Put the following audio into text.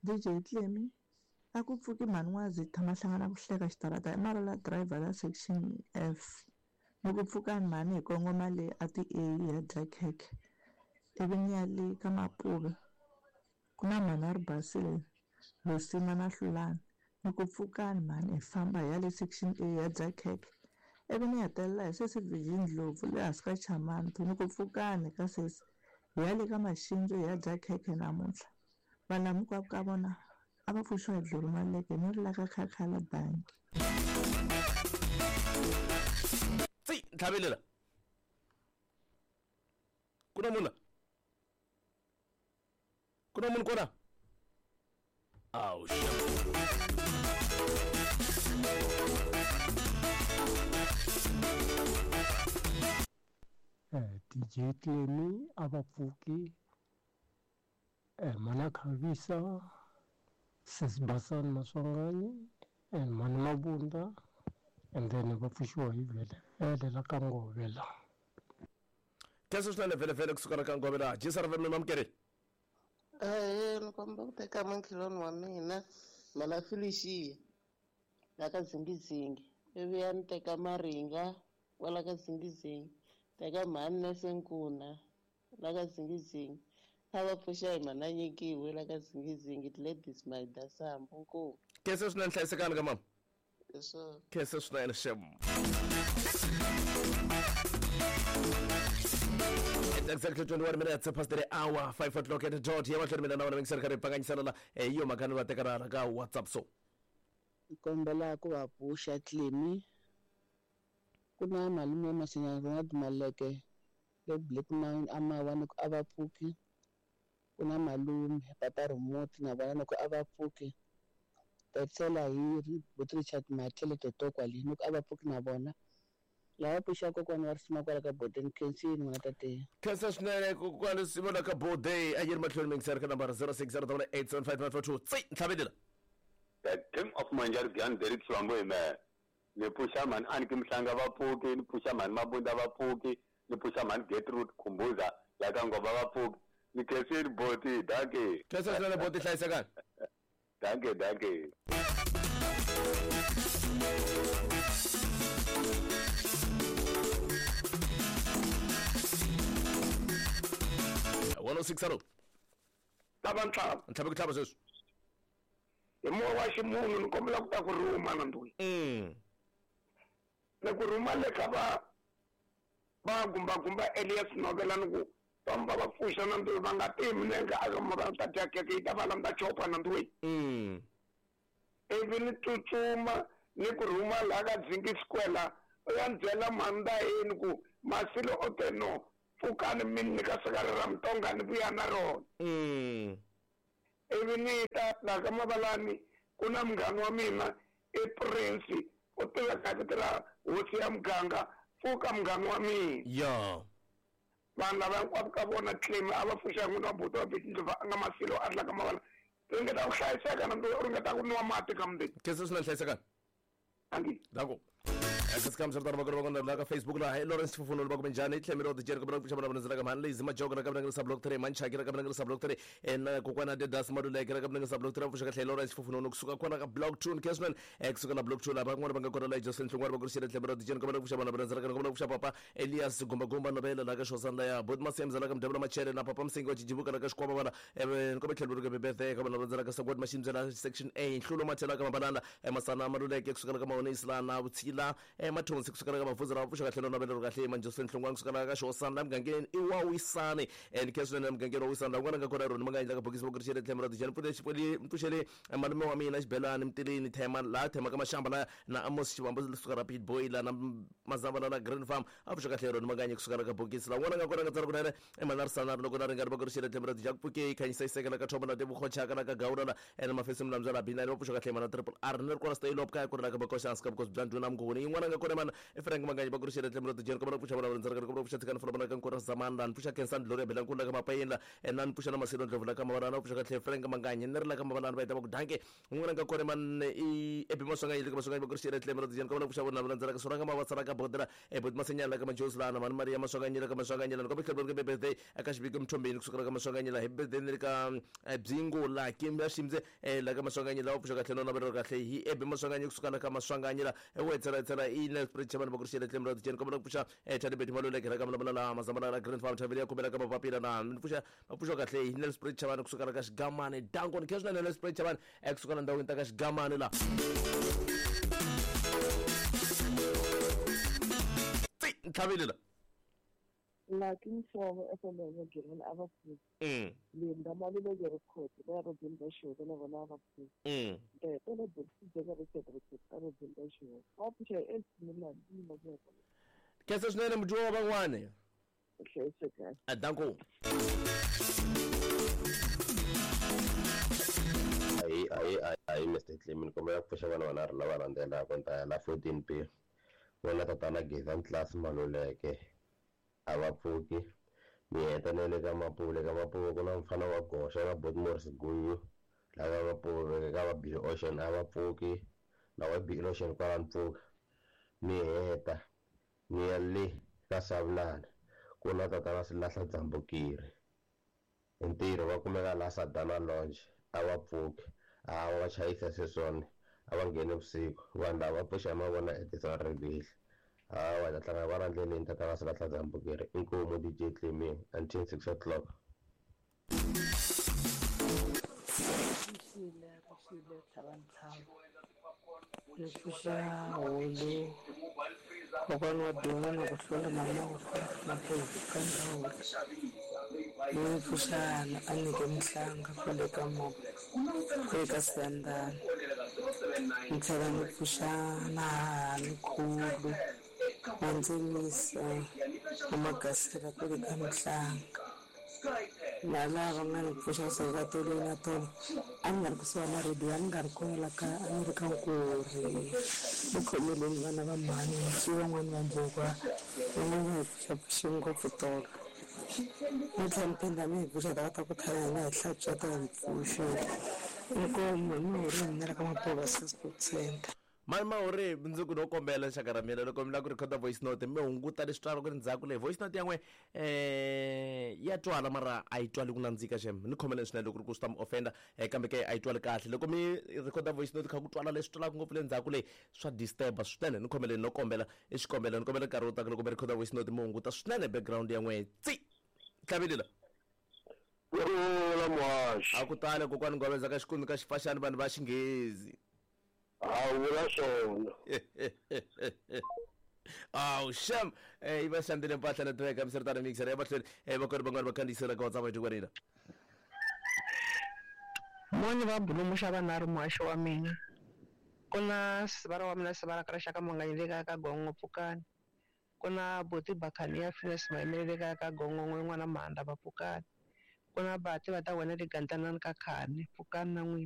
DJ Clemi a ku pfuki mhani N'wazi tshama hlangana ku hleka xitarata i marila driver la section F ni ku pfukani mhani hi kongoma le a ti A hi ya dya khekhe ivi ni ya le ka Mapuve ku na mhani a ri basile Rosina na Hlulani ni ku pfukani mhani hi famba hi ya le section A hi ya dya khekhe ivi ni hetelela hi sesi Virgin Ndlovu le hansi ka Chamanto ni ku pfukani ka sesi hi ya le ka Maxindzu hi ya dya khekhe namuntlha vanhu lava hinkwavo ka vona a va pfuxiwa hi Dluru Maleke ni ri la ka Khakhala bangi. Tsi ntlhavelela ku na munhu la ku na munhu kona awu DJ Clemi a va pfuki Mhani Khavisa Sesi Basani Maswanganyi and Mhani Mabunda and then va pfuxiwa hi vhelevhele la ka Ngove la. Khensa swinene vhelevhele kusuka la ka Ngove la. Jisa ra vembe mamukeri. Ahee, ni kombela ku teka makhelwani wa mina mhana Felicia la ka Zingizingi ivi ya ni teka Maringa kwala ka Zingizingi teka mhani Nese Nkuna la ka Zingizingi a va pfuxa hi mhana Nyikiwe la ka Zingizingi Gladys Maida Sambu nkomu. Khensa swinene hlayisekani ka mama. Hi swona. Khensa swinene xem. It's exactly 21 minutes past the hour 5 o'clock at the dot ya mahlweni mina na wena mingiseri karhi hi pfanganyisana la hi yo mhaka ni va teka ra ka WhatsApp so Ni kombela ku va pfuxa Clemi ku na malume Masinya Ronald Maleke le Black Mine a mawa ni ku a va pfuki ku na malume papa Remote na vona ni ku a va pfuki ta tlhela hi buti Richard Mathele Toto kwale ni ku a va pfuki na vona lava pfuxa kokwana wa risima kwala ka Bode ni khensini n'wana tate. Khensa swinene kokwana risima la ka Bode a yi ri mahlweni mingiseri ka nambara 0608755542 tsi ntlhavelela. The team of Manjarigani Derek Xivambo hi mehe. Ni pfuxa mhani Aniki Mhlanga va pfuki, ni pfuxa mhani Mabunda va pfuki, ni pfuxa mhani Gertrude Khumbuza la ka Ngoma va pfuki. Ni khensile boti, dankie. Khensa swinene boti, hlayisekani. Dankie, dankie. One oh six hello. Tava ntlhava. Ntlhava ku tlhava sweswi. Hi moya wa ximunhu ni kombela ku ta ku rhuma na ndhuyi. Ni ku rhuma le ka va va gumbagumba Elias Novela ni ku famba va pfuxa na ndhuyi va nga ti minenge a va ta dya keke yi ta va landza chopa na ndhuyi. Ivi ni tsutsuma ni ku rhuma laha ka Dzingi Square la u ya ni byela mhani yini ku Masilo o te no pfukani mi ni nyika sikari ra Mutonga ni vuya na rona. Ivi ni ta laha ka Mavalani ku na munghana wa mina i Prince u tiveka hi vito ra hosi ya muganga pfuka munghana wa mina. Ya. Vanhu lava hinkwavo ka vona claim a va pfuxa n'wini wa buti wa Beti Ndlovu a nga Masilo a ri la ka Mavalani. Ringeta ku hlayiseka na u ringeta ku nwa mati ka mundeni. Khensa swinene hlayisekani. Angi. Danko. Access kam swi ri tano va ka Facebook laha hi Lawrence Fufuno va ku minjhani tlhemelo wa dijeri kombela ku pfuxa vana va ka mhani Lazy Majoko ra ka vana block 3 Manchaki ra ka vana block 3 na kokwana Dedas Maluleke ra ka vana block 3 pfuxa kahle Lawrence Fufuno kusuka kona ka block 2 Kesman kusuka la block 2 lava van'wana va nga kona la Jocelyn Hlongwane va ku rixile tlhemelo wa dijeri kombela ku pfuxa vana va ka kombela ku pfuxa papa Elias Gumba Gumba Nobela la ka Xosana la ya Bot Masemza la ka Mdebela Machele na papa Msingi wa Chijibuka la ka Xikwama vana kombela tlhelo ri ka Bebethe ka vana va ka Sagwadi Maximbyela section A Nhlulo Mathela ka Mabalala Masana Maluleke kusuka la ka Mahonisi la na Vutshila Mathonsi kusuka la ka Mavhudzi la pfuxa kahle no navela kahle Manjoseni Hlongwane kusuka la ka Xosana la mugangeni i wa Wisani and Keswene la mugangeni wa Wisani la un'wana nga kona rona ma nga endla ka bokisi va ku rixele tlhelo ra dijani pfuxele malume wa mina Xibelani Mtilini Thema la Thema ka Mashamba la na Amos Xivambo kusuka ra Pit Boy la na Mazamba la na Green Farm a pfuxa kahle rona ma nga kusuka la ka bokisi la un'wana nga kona nga tsala kunene Emanarisana loko na ringana va ku rixele tlhelo ra dijani pfuke khanyisa isekela ka Thombo na Tebogo Chaka la ka Gawula la ene mafesi mlambyela la Binani va pfuxa kahle mana Triple R ni ri kona stay lop kaya ku ri la ka Bokoxa hansi ka vukosi bya ndhuna Mnguni yin'wana Un'wana nga kona mana i Frank Manganyi va ku ri xele tlhelo ra tijeni kombela ku pfuxa vana va ndzaraka kombela ku pfuxa tshikani fana ka nkora zamani la ni pfuxa Khensani Gloria Belankulu la ka Mapayeni la na ni pfuxa na Masilo Ndlovu la ka Mavalana va pfuxa kahle Frank Manganyi ni ri la ka Mavalana va heta va ku danke. Un'wana nga kona man i Ebi Maswanganyi le ka Maswanganyi va ku ri xele tlhelo ra tijeni kombela ku pfuxa vana va ndzaraka Suranga Mavatsala ka Bodela Boti Masenyana la ka Majosi la na mani Maria Maswanganyi la ka Maswanganyi la ni kombela tlhelo ri birthday eka xiviko Mthombeni kusukela ka Maswanganyi la hi birthday ni le ka Byingo la Kim ya Ximze la ka Maswanganyi la va pfuxa kahle no navela kahle hi Ebi Maswanganyi kusuka la ka Maswanganyi la wetsela i Nelspruit Chairman va ku ri xele tlhelo ra tijeni kombela ku pfuxa Thandi Betty Maluleke la ka Mlamula la Mazambana la Grand Farm Thavele ya Khumela ka Mapapila na ni pfuxa va pfuxa kahle hi Nelspruit Chairman kusuka la ka Xigamani danko ni khensa swinene Nelspruit Chairman kusuka la ndhawini ta ka Xigamani la tsi ntlhavile la Lucky Msomo FML Girl a va pfuki. Linda Maluleke Record va ya Robin va Xihoko na vona a va pfuki. Ntete Bokisi Richard Richard a Robin va Xihoko. Va pfuxa hi AC Milan ni ma vona. Khensa swinene mudyiwa wa van'wani. Hlayiseka. Danko. Ayi ayi ayi Mr. Clement kombela ku pfuxa vana vanharhu lava landzelaka ni ta ya la 14 p vona tatana Geza Ntlasi Maluleke a va pfuki mi heta na le ka Mapuve ka Mapuve ku na mufana wa goxa na Bot Morris Gunyu lava Mapuve ka va Bill Ocean a va pfuki na wa Bill Ocean kwala mpfuka mi heta mi ya le ka Savulana ku na tatana Silahla Dzambukiri hi ntirho va kumeka la Sadana Lounge a va pfuki a va chayisa sweswiwani a va ngheni vusiku vanhu lava va pfuxa mavona Edison Ribihla hawa ta hlangana va ra ndleleni tatana Silahla Dzambukiri inkomu DJ Clement until 6 o'clock. Rixile rixile tlhava ni pfuxa hulu kokwana wa Duma na ku hlula mama ku hlula ka ndhawu ni pfuxa a nyike Mhlanga kwale ka kwale ka Siyandhani ni tlhela ni pfuxa na hahani Khulu na Ndzinisa na Magasela kwale ka Mhlanga na lava nga ni pfuxa kusuka tolweni na tolo a ni nga ri kusuhani na rediyo a ni nga ri kona la ka a ni ri ka Nkuri ni khomeleni vana va mhani swi van'wani va mbuka van'wani va hi pfuxapfuxe ngopfu tolo ni tlhela ni phinda mi hi pfuxa ta ta ku tlhela hina hi hlantswa ta hi pfuxe inkomu hi mihoreni mina la ka Mapuva Sport Center. Mani Mahuri ndzi ku no kombela xaka ra mina loko mi lava ku rhekhoda voice note mi hunguta leswi twalaka ri ndzhaku leyi voice note ya n'we ya twala mara a yi twali ku nandzika xem ni khomeleni swinene loko ri ku swi ta mi offender kambe ke a yi twali kahle loko mi rhekhoda voice note kha ku twala leswi twalaka ngopfu le ndzhaku leyi swa disturb swinene ni khomeleni no kombela i xikombelo ni kombela nkarhi wo taka loko mi rhekhoda voice note mi hunguta swinene background ya n'we tsi tlhavelela. Kurhula muhaxi. A ku tale kokwani Ngwaveza ka xikundzu ka xifaxani vanhu va xinghezi. A vula swona. Awu xem yi va xandile mpahla network hambiswiritano mixer ya mahlweni vakweri van'wana va khandziyisela ka WhatsApp hi Moni va bulumuxa vanharhu muhaxi wa mina ku na sivara wa mina sivara ka rixaka Manganyi le kaya ka Gongo Pfukani ku na buti Bakhaniya Phineas Maimele le kaya ka Gongo n'wana Mhanda va Pfukani ku na bati va ta wena le Gandlanani ka Khani Pfukani na n'wina.